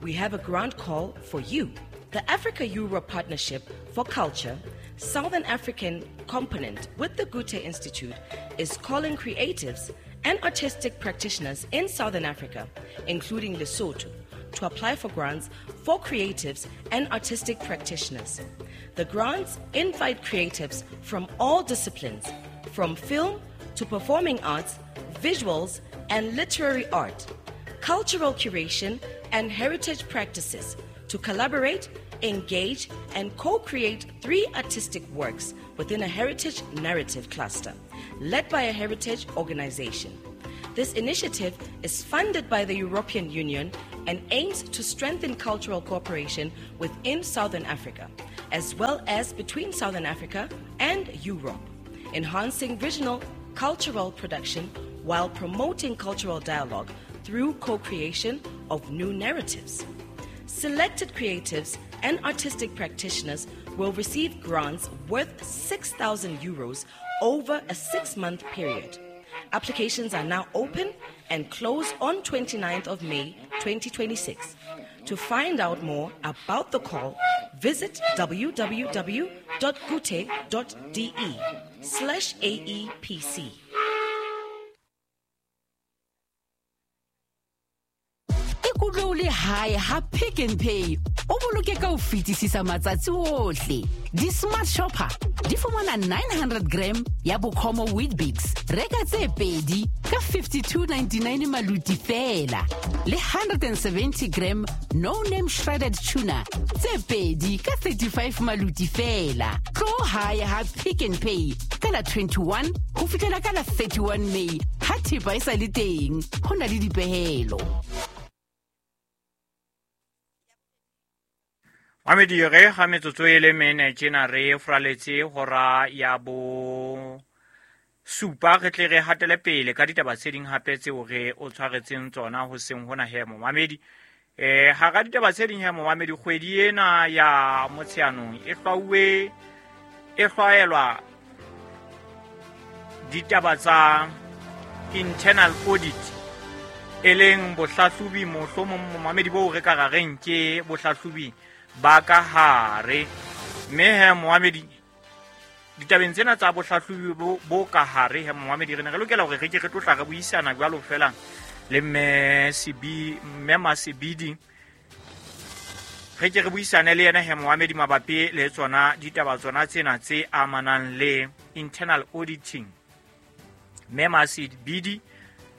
We have a grant call for you. The Africa-Europe Partnership for Culture, Southern African component with the Goethe Institute, is calling creatives and artistic practitioners in Southern Africa, including Lesotho, to apply for grants for creatives and artistic practitioners. The grants invite creatives from all disciplines, from film to performing arts, visuals, and literary art, cultural curation, and heritage practices to collaborate, engage, and co-create three artistic works within a heritage narrative cluster, led by a heritage organization. This initiative is funded by the European Union and aims to strengthen cultural cooperation within Southern Africa, as well as between Southern Africa and Europe, enhancing regional cultural production while promoting cultural dialogue through co-creation of new narratives. Selected creatives and artistic practitioners will receive grants worth six thousand euros over a six-month period. Applications are now open and close on twenty-ninth of May twenty twenty-six. To find out more about the call, visit w w w dot goethe dot de slash A E P C. Ikutlwe o le hae ha Pick n Pay o boloke ka ho fetisisa matsatsi ohle. Di-Smart Shopper di fumana nine hundred gram ya Bokomo Weet-Bix, reka tse pedi ka fifty-two ninety-nine maluti feela, le one hundred seventy gram No Name shredded tuna tse pedi ka thirty-five maluti feela. Tlo hae ha Pick n Pay ka la twenty-one ho fihlela ka la thirty-one May ha thepa e sa le teng, ho na le dipehelo. Mamedi, re ga metsotso e le mene tjena re furaletse hora ya bo supa, re tle re hatele pele ka ditaba tse ding hape tseo re o tshwaretseng tsona ho seng hona he momamedi. Eh hara ditaba tse ding he momamedi, kgwedi ena ya Motsheanong e hlwauwe e hlwaelwa ditaba tsa internal audit, e leng bohlahlobi mohlomong momamedi bo re ka ra reng ke bohlahlobi ba ka hare. Mme he momamedi, ditabeng tsena tsa bohlahlobi bo, bo ka hare he momamedi, re ne re lokela hore re ke re tlo tla re buisana jwalo fela le mme Sibi, mme Masebidi, re ke re buisane le yena he momamedi mabapi le tsona ditaba tsona tsena tse amanang le internal auditing. Mme Masebidi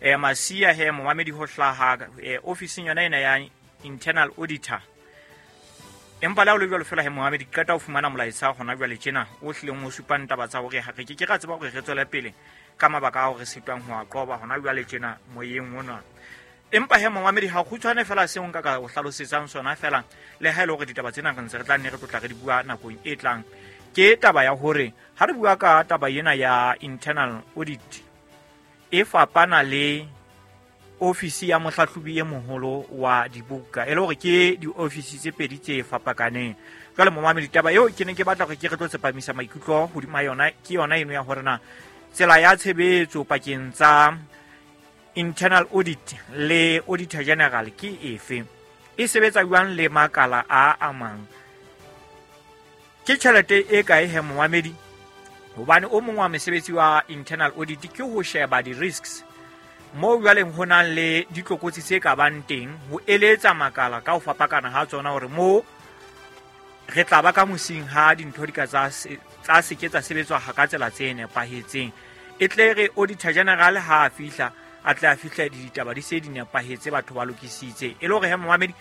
eh Masia he momamedi ho hlaha eh, ofising yona ena ya internal auditor. Empa le ha o le jwalo fela he momamedi, ke qeta ho fumana molaetsa hona jwale tjena o hlileng o supang taba tsa hore ha re ke ke ra tseba hore re tswele pele ka mabaka ao re sitwang ho a qoba hona jwale tjena moyeng ona. Empa he momamedi, ha kgutshwane fela seo nka ka o hlalosetsang sona fela, le ha e le hore ditaba tsena re ntse re tla nne re tlotla re di bua nakong e tlang, ke taba ya hore ha re bua ka taba ena ya internal audit e fapana le ofisi ya mohlahlobi e moholo wa dibuka, e le hore ke diofisi tse pedi tse fapakaneng. Jwale momamedi, taba eo ke ne ke batla hore ke re tlo tsepamisa maikutlo hodima yona ke yona eno ya hore na tsela ya tshebetso pakeng tsa internal audit le auditor general ke efe, e sebetsa jwang le makala a amang, ke tjhelete e kae he momamedi, hobane o mong wa mesebetsi wa internal audit ke ho sheba di-risks moo jwaleng ho nang le ditlokotsi tse ka bang teng, ho eletsa makala ka ho fapakana ha tsona hore moo re tla ba ka mosing ha dintho di ka tsa se tsa se ke tsa sebetswa ha ka tsela tse nepahetseng, e tle re auditor general ha a fihla a tle a fihle ditaba di se di nepahetse, batho ba lokisitse. E le hore he momamedi,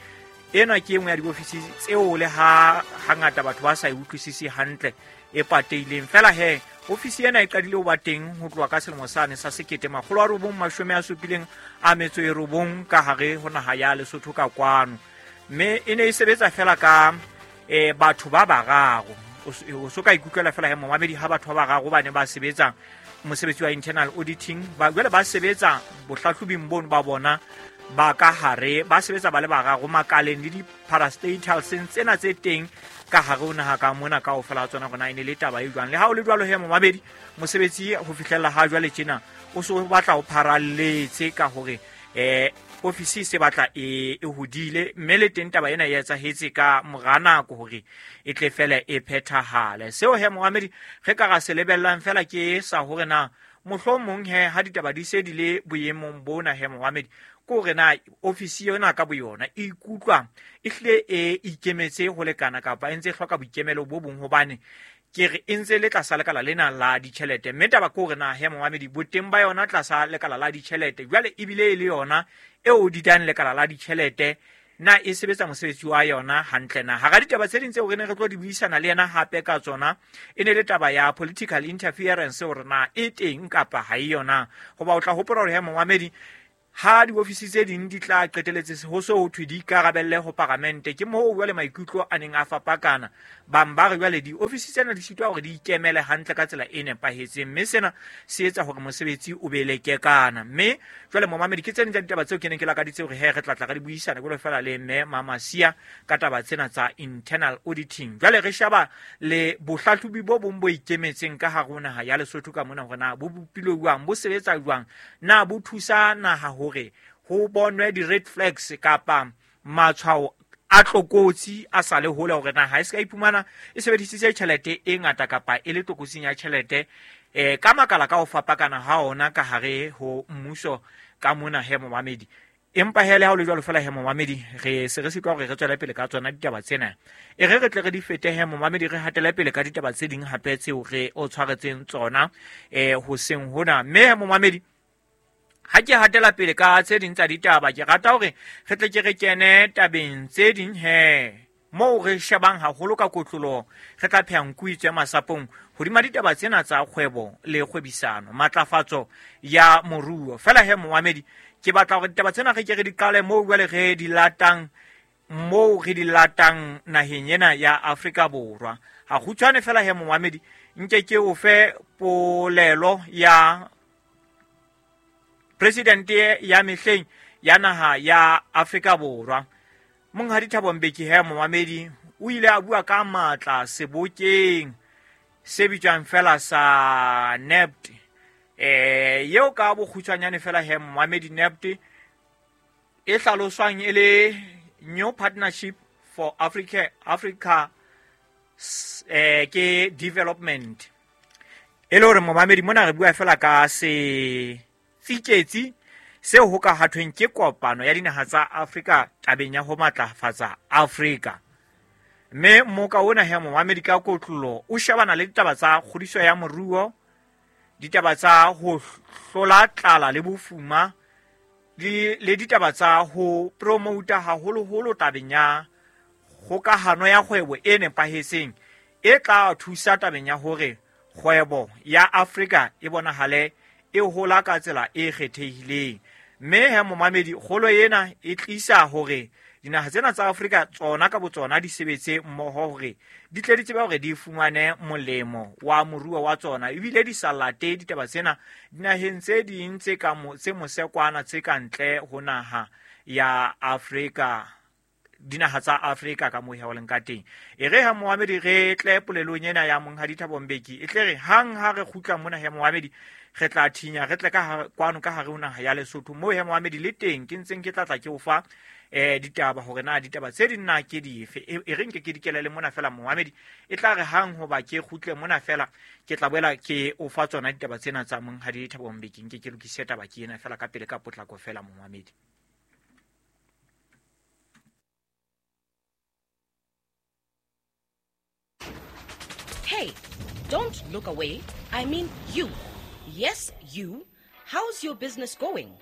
ena ke e nngwe ya diofisi tseo le ha hangata batho ba sa e utlwisise hantle, e pateileng fela. He ofisi ena e qadile ho ba teng ho tloha ka selemo sane sa sekete makgolo a robong mashome a supileng a metso e robong ka hare ho naha ya Lesotho ka kwano, mme e ne e sebetsa fela ka eh batho ba bararo. O so ka ikutlwela fela he momamedi ha batho ba bararo ba ne ba sebetsa mosebetsi wa internal auditing, ba jwale ba sebetsa bohlahlobing bono ba bona ba ka hare, ba sebetsa ba le bararo makaleng le di-parastatals tsena tse teng ka hare ho naha ka mona kaofela ha tsona. Rona e ne le taba e jwang. Le ha o le jwalo he momamedi, mosebetsi ho fihlella ha jwale tjena o so batla ho pharalletse ka hore eh ofisi se batla e e hodile, mme le teng taba ena e etsahetse ka mora nako hore e tle fela e phethahale. Seo he momamedi re ka ra se lebellang fela ke sa hore na Mohlomong he ha ditaba di se di le boemong bona he momamedi, ko re na ofisi yona ka boyona e ikutlwa e hlile e ikemetse ho lekana kapa e ntse e hloka boikemelo bo bong, hobane ke re e ntse le tlasa lekala lena la ditjhelete. Mme taba ke hore na he momamedi, boteng ba yona tlasa lekala la ditjhelete jwale ebile e le yona eo didang lekala la ditjhelete, na e sebetsa mosebetsi wa yona hantle na? Hara ditaba tse ding tseo re ne re tlo di buisana le yena hape ka tsona e ne le taba ya political interference, hore na e teng kapa ha e yona. Hoba o tla hopola hore he momamedi, ha diofisi tse ding di tla qeteletse ho so ho thwe di ikarabelle ho paramente, ke moo jwale maikutlo a neng a fapakana. Bang ba re jwale diofisi tsena di sitwa hore di ikemele hantle ka tsela e nepahetseng, mme sena se etsa hore mosebetsi o be lekekana. Mme jwale momamedi, ke tse ding tsa ditaba tseo ke neng ke lakaditse hore he re tla tla re di buisana jwalo fela le mme Mamasia ka taba tsena tsa internal auditing. Jwale re sheba le bohlahlobi bo bong bo ikemetseng ka hare ho naha ya Lesotho ka mona, hore na bo bopilwe jwang, bo sebetsa jwang, na bo thusa naha hore ho bonwe di-red flags kapa matshwao a tlokotsi a sa le hole, hore na ha e se ka iphumana e sebedisitse tjhelete e ngata kapa e le tlokotsing ya tjhelete eh ka makala ka ho fapakana ha ona ka hare ho mmuso ka mona he momamedi. Empa hele ha o le jwalo fela he momamedi, re se re sitwa hore re tswele pele ka tsona ditaba tsena. E re re tle re di fete he momamedi, re hatele pele ka ditaba tse ding hape tseo re o tshwaretseng tsona eh hoseng hona. Mme he momamedi, ha ke hatela pele ka tse ding tsa ditaba, ke rata hore re tle ke re kene tabeng tse ding he moo re shebang haholo ka kotloloho, re tla pheha nku itswe masapong hodima ditaba tsena tsa kgwebo le kgwebisano, matlafatso ya moruo. Fela he momamedi, ke batla hore ditaba tsena re ke re di qale moo jwale re di latang, moo re di latang naheng ena ya Afrika Borwa. Ha kgutshwane fela he momamedi, nke ke o fe polelo ya presidente ya mehleng ya naha ya Afrika Borwa, Monghadi Thabo Mbeki. He momamedi, o ile a bua ka matla sebokeng se bitswang fela sa N E P T. Eh yeo ka bokgutshwanyane fela he momamedi, N E P T e hlaloswang e le New Partnership for Africa Africa eh ke Development. E le hore momamedi mona re bua fela ka se tsiketsi seo ho ka hathweng ke kopano ya dinaha tsa Afrika tabeng ya ho matlafatsa Afrika. Mme moka ona he momamedi ka kotlolo o shebana le ditaba tsa kgodiso ya moruo, ditaba tsa ho hlola tlala le bofuma, le le ditaba tsa ho promouta haholoholo tabeng ya kgokahano ya kgwebo e nepahetseng e tla thusa tabeng ya hore kgwebo ya Afrika e bonahale e hola ka tsela e kgethehileng. Mme he momamedi, kgolo ena e tlisa hore dinaha tsena tsa Afrika tsona ka botsona di sebetse mmoho hore di tle di tsebe hore di fumane molemo wa moruo wa tsona, ebile di sa late ditaba tsena dinaheng tse ding tse ka tse mosekwana tse ka ntle ho naha ya Afrika, dinaha tsa Afrika ka moo ho leng ka teng. E re ha momamedi re tle polelong ena ya Monghadi Thabo Mbeki, e tle re hang ha re kgutla mona he momamedi, re tla thinya re tle ka kwano ka hare ho naha ya Lesotho moo he momamedi le teng ke ntseng ke tla tla ke o fa eh ditaba hore na ditaba tse ding na ke dife. E re nke ke dikelele mona fela momamedi, e tla re hang hoba ke kgutle mona fela ke tla boela ke o fa tsona ditaba tsena tsa Monghadi Thabo Mbeki. Nke ke lokise taba ke ena fela ka pele ka potlako fela momamedi. Hey, don't look away. I mean you. Yes, you. How's your business going?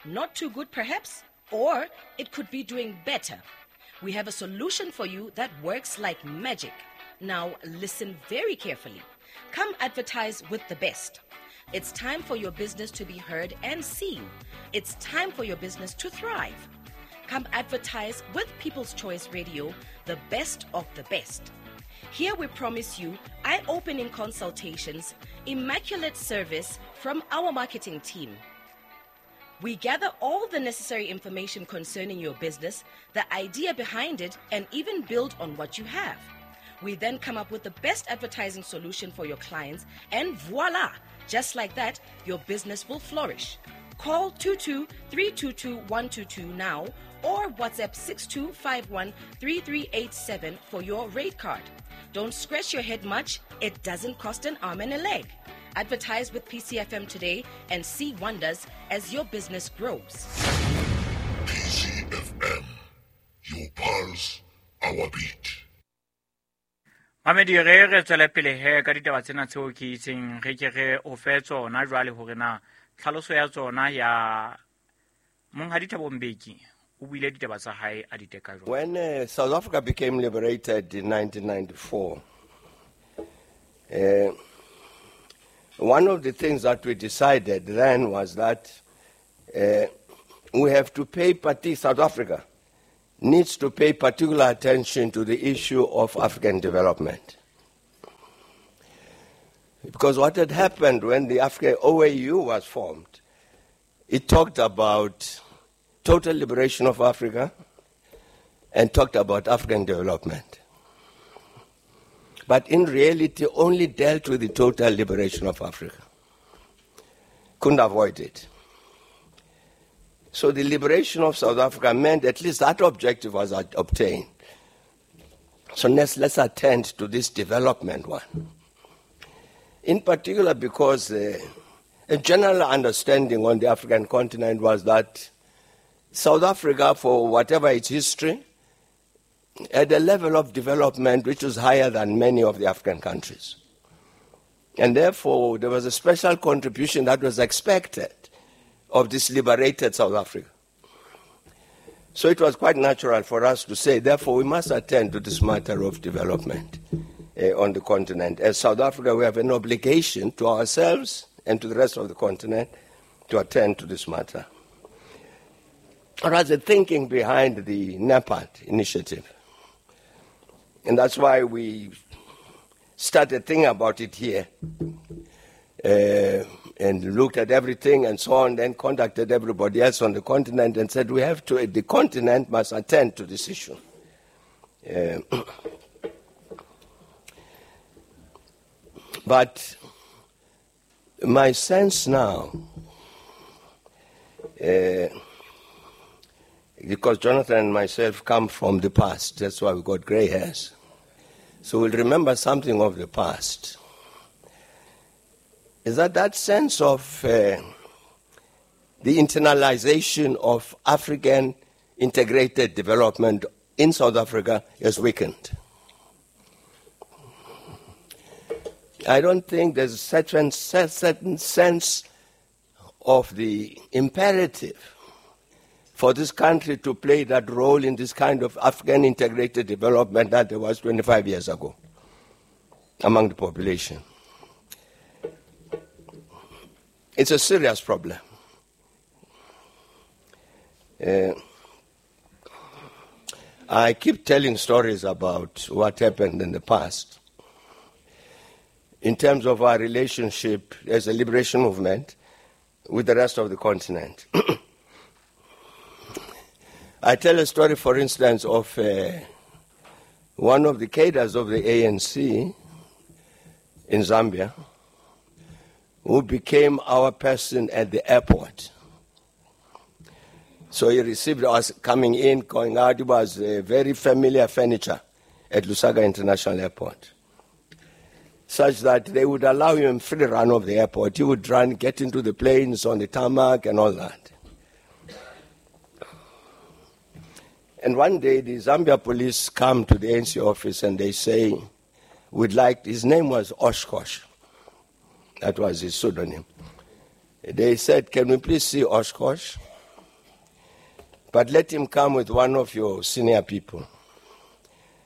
Not too good, perhaps? Or it could be doing better. We have a solution for you that works like magic. Now, listen very carefully. Come advertise with the best. It's time for your business to be heard and seen. It's time for your business to thrive. Come advertise with People's Choice Radio, the best of the best. Here we promise you eye-opening consultations, immaculate service from our marketing team. We gather all the necessary information concerning your business, the idea behind it, and even build on what you have. We then come up with the best advertising solution for your clients, and voila! Just like that, your business will flourish. Call two two three two two one two two now or WhatsApp six two five one three three eight seven for your rate card. Don't scratch your head much. It doesn't cost an arm and a leg. Advertise with P C F M today and see wonders as your business grows. P C F M, your pulse, our beat. Mamedi re re tswele pele he ka ditaba tsena tseo ke itseng re ke re o fe tsona jwale hore na tlhaloso ya tsona ya Monghadi Thabo Mbeki o buile ditaba tsa hae a di teka jwang. When uh, South Africa became liberated in nineteen ninety-four, uh, one of the things that we decided then was that uh, we have to pay party, South Africa needs to pay particular attention to the issue of African development. Because what had happened when the African O A U was formed, it talked about total liberation of Africa and talked about African development. But in reality, only dealt with the total liberation of Africa. Couldn't avoid it. So the liberation of South Africa meant at least that objective was obtained. So let's, let's attend to this development one. In particular because uh, a general understanding on the African continent was that South Africa, for whatever its history, had a level of development which was higher than many of the African countries. And therefore, there was a special contribution that was expected of this liberated South Africa. So it was quite natural for us to say, therefore, we must attend to this matter of development uh, on the continent. As South Africa, we have an obligation to ourselves and to the rest of the continent to attend to this matter. Or as the thinking behind the NEPAD initiative. And that's why we started thinking about it here. Uh, and looked at everything and so on, then contacted everybody else on the continent and said, we have to, the continent must attend to this issue. Uh, but my sense now, uh, because Jonathan and myself come from the past, that's why we got gray hairs. So we'll remember something of the past. Is that that sense of uh, the internalization of African integrated development in South Africa is weakened. I don't think there's a certain, certain sense of the imperative for this country to play that role in this kind of African integrated development that there was twenty-five years ago among the population. It's a serious problem. Uh, I keep telling stories about what happened in the past. In terms of our relationship as a liberation movement with the rest of the continent. I tell a story, for instance, of uh, one of the cadres of the A N C in Zambia, who became our person at the airport. So he received us coming in, going out. It was a very familiar furniture at Lusaka International Airport, such that they would allow him free run of the airport. He would run, get into the planes on the tarmac and all that. And one day the Zambia police come to the A N C office and they say, we'd like, his name was Oshkosh. That was his pseudonym. They said, can we please see Oshkosh? But let him come with one of your senior people.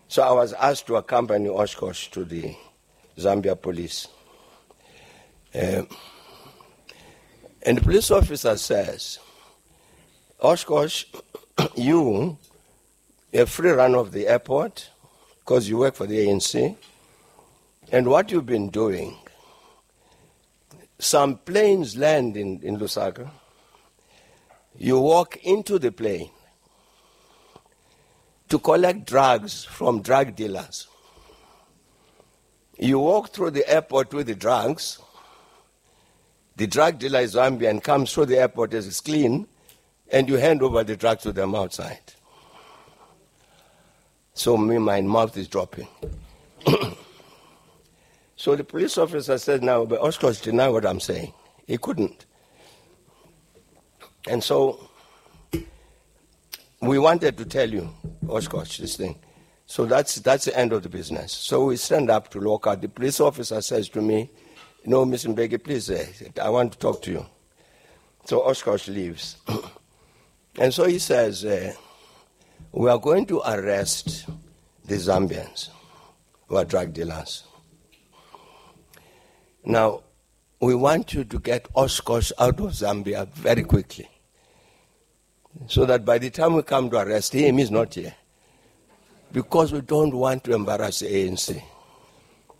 So I was asked to accompany Oshkosh to the Zambia police. Uh, and the police officer says, Oshkosh, you have free run of the airport because you work for the A N C. And what you've been doing, some planes land in, in Lusaka. You walk into the plane to collect drugs from drug dealers. You walk through the airport with the drugs. The drug dealer is Zambian, comes through the airport as it's clean, and you hand over the drugs to them outside. So me, my mouth is dropping. So the police officer said, now, but Oshkosh deny what I'm saying. He couldn't. And so we wanted to tell you, Oshkosh, this thing. So that's, that's the end of the business. So we stand up to look out. The police officer says to me, no, Mister Mbeki, please, uh, I want to talk to you. So Oshkosh leaves. And so he says, uh, we are going to arrest the Zambians who are drug dealers. Now, we want you to get Oshkosh out of Zambia very quickly, so that by the time we come to arrest him, he's not here. Because we don't want to embarrass the A N C.